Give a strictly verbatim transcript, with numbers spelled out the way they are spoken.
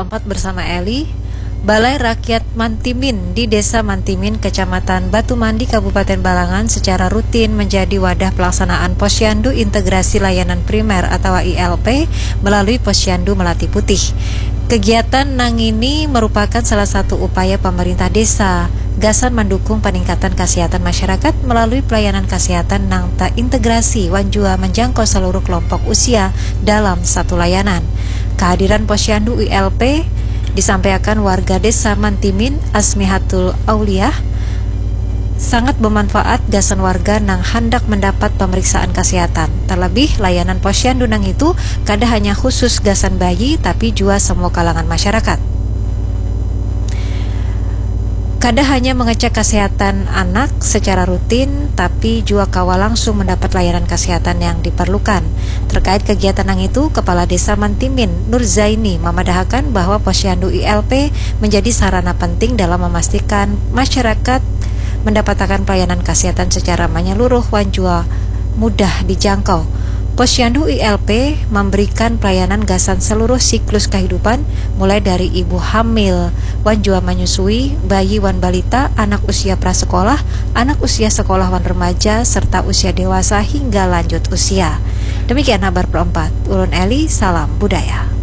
Empat bersama Eli, Balai Rakyat Mantimin di Desa Mantimin, Kecamatan Batu Mandi, Kabupaten Balangan secara rutin menjadi wadah pelaksanaan Posyandu Integrasi Layanan Primer atau I L P melalui Posyandu Melati Putih. Kegiatan nang ini merupakan salah satu upaya pemerintah desa gasan mendukung peningkatan kesehatan masyarakat melalui pelayanan kesehatan nang terintegrasi wan jua menjangkau seluruh kelompok usia dalam satu layanan. Kehadiran Posyandu I L P disampaikan warga Desa Mantimin, Asmihatul Auliah, sangat bermanfaat gasan warga nang handak mendapat pemeriksaan kesehatan. Terlebih, layanan Posyandu nang itu kada hanya khusus gasan bayi, tapi jua semua kalangan masyarakat. Kada hanya mengecek kesehatan anak secara rutin, tapi jua kawa langsung mendapat layanan kesehatan yang diperlukan. Terkait kegiatan nang itu, Kepala Desa Mantimin, Nur Zaini, memadahakan bahwa Posyandu I L P menjadi sarana penting dalam memastikan masyarakat mendapatakan pelayanan kesehatan secara menyeluruh wan jua mudah dijangkau. Posyandu I L P memberikan pelayanan gasan seluruh siklus kehidupan, mulai dari ibu hamil wan jua menyusui, bayi wan balita, anak usia prasekolah, anak usia sekolah wan remaja, serta usia dewasa hingga lanjut usia. Demikian habar perempat. Ulun Eli, salam budaya.